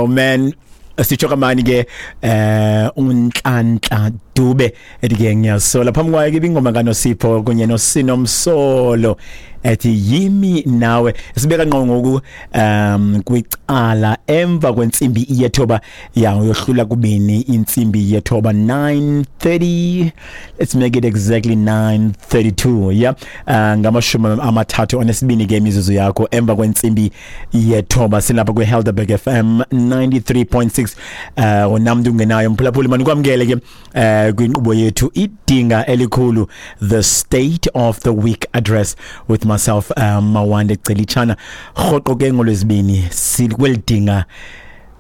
Oh man, sitsho kamani ke uNhlanhla Dube ethi ke ngiyasola. Phambi kwayo ke ingoma kaNosipho kunye noSinomsolo ethi yimi nawe. Sibeka ngqo ngoku kwicala emva kwentsimbi yethoba, ya uyohlula kubini intsimbi yethoba, 9:30. Let's make it exactly 9:32. Yeah, 32 ke imizuzu yakho emva kwentsimbi yethoba. Silapha kwi Helderberg FM 93.6. Unamntu ungenayo mphulaphuli, manikwamkele ke kwinkqubo yethu idinga elikhulu, the state of the week address with myself, Mawande Celichana. Rhoqo ke ngolwezibini sikwelidinga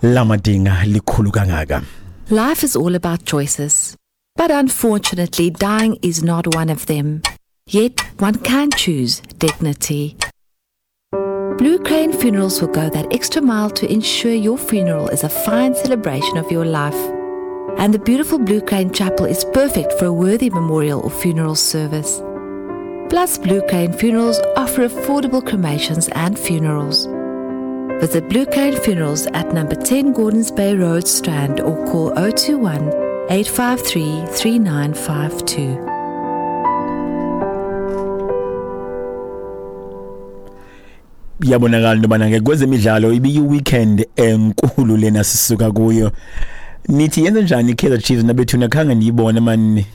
lamadinga likhulu kangaka. Life is all about choices, but unfortunately dying is not one of them. Yet one can choose dignity. Blue Crane Funerals will go that extra mile to ensure your funeral is a fine celebration of your life. And the beautiful Blue Crane Chapel is perfect for a worthy memorial or funeral service. Plus, Blue Crane Funerals offer affordable cremations and funerals. Visit Blue Crane Funerals at number 10 Gordons Bay Road, Strand, or call 021 853 3952. Yabonakala into yobana ke kwezemidlalo ibiyi-weekend enkulu lena sisuka kuyo. Nithi yenze njani i-Kaizer Chiefs nabethuna? Khange ndiyibone mani,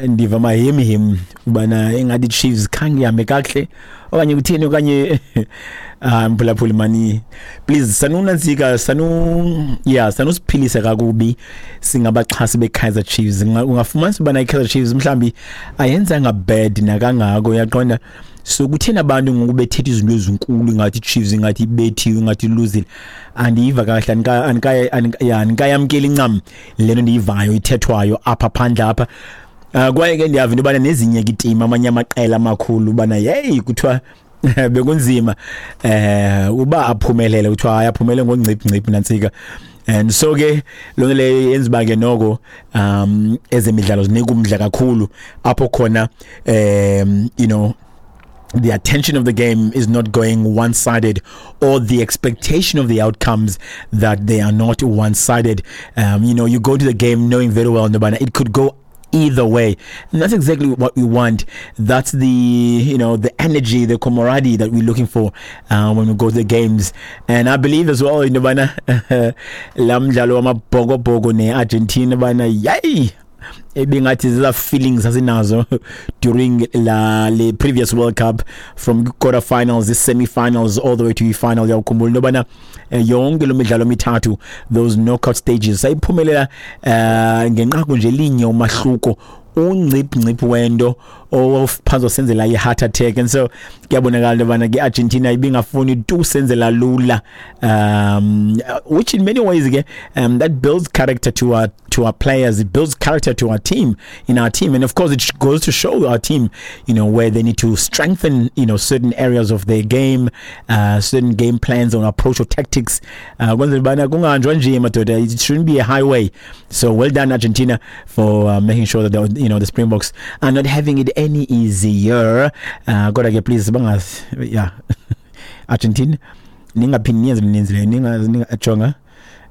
ndiva mahemhem ubana ingathi i-Chiefs khange ihambe kakuhle okanye kutheni okanye. Ah, mphulaphuli mani, please sanunantsika, sanu yeah, sanusiphilisa kakubi singabaxhasi be-Kaizer Chiefs. Ungafumanisa ubana i-Kaizer Chiefs mhlawumbi ayenzanga bad nakangako, uyaqonda? So kutheni abantu ngoku bethetha izinto ezinkulu ingathi i-Chiefs ingathi ibethiwe, ingathi iluzile? Andiyiva kahle, andikayamkeli incam le nto ndiyivayo ithethwayo apha phandle apha. Kwaye ke ndiyava into yobana nezinye ke iitim, amanye amaqela amakhulu, ubana yeyi kuthiwa bekunzima uba aphumelele, kuthiwa hayi aphumele ngongciphi ngciphi nantsika. And so ke loo nto leyo yenza uba ke noko ezemidlalo zinika umdla kakhulu apho khona, the attention of the game is not going one-sided, or the expectation of the outcomes that they are not one-sided. You go to the game knowing very well it could go either way, and that's exactly what we want. That's the you know the energy, the camaraderie that we're looking for when we go to the games. And I believe as well in bana la mdlalo wamabhokobhoko ne-Argentina bana yayi ebingathi zeza feelings asinazo during la le previous World Cup, from quarterfinals, the semi-finals, all the way to the final. Uyawukhumbula into yobana yonke lo midlalo mithathu, those knockout stages, sayiphumelela ngenqaku nje linye umahluko, unciphi nciphi wento owaphansi senzela i-heart attack. And so kuyabonakala into yobana ke Argentina ibingafuni tu senzela lula, which in many ways ke that builds character to our players. It builds character to our team, in our team. And of course it goes to show our team where they need to strengthen certain areas of their game, certain game plans or approach or tactics, kwenzela ubana kungahanjwa nje madoda. It shouldn't be a highway. So well done, Argentina, for making sure that the, you know the Springboks are not having it any easier. Kodwa ke please bangas, yeah, Argentina, ningaphindi niyenze ninenzileyo, ningajonga,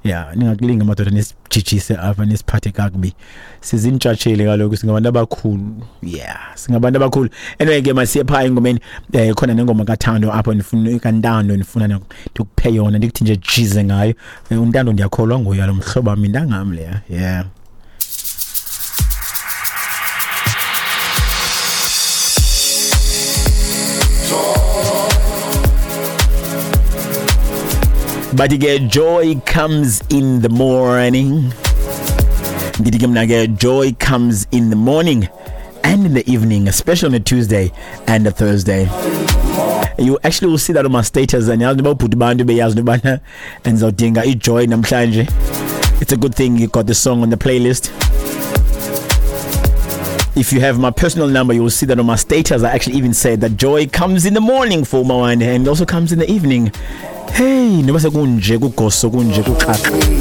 yeah, ningakulinga madoda nisijijise apha nisiphathe kakubi. Sizintshatsheli kaloku, singabantu abakhulu, yeah, singabantu abakhulu. Anyway ke masiye phaa engomeni. Khona nengoma kaThando apho ndifuna, kaNtando, ndifuna ndikuphe yona, ndikuthi nje jize ngayo. UNtando ndiyakholwa nguye lo mhlobo wam, intangam leya, yeah. But ke joy comes in the morning. Ndithi ke mna ke joy comes in the morning and in the evening, especially on a Tuesday and a Thursday. You actually will see that on my status, and yazi uba ubhuti bantu beyazi into yobana ndizawudinga ijoy namhlanje. It's a good thing you got the song on the playlist. If you have my personal number, you will see that on my status I actually even said that joy comes in the morning for Mawande and also comes in the evening. Hey, noba sekunje kugoso kunje kuxaxa.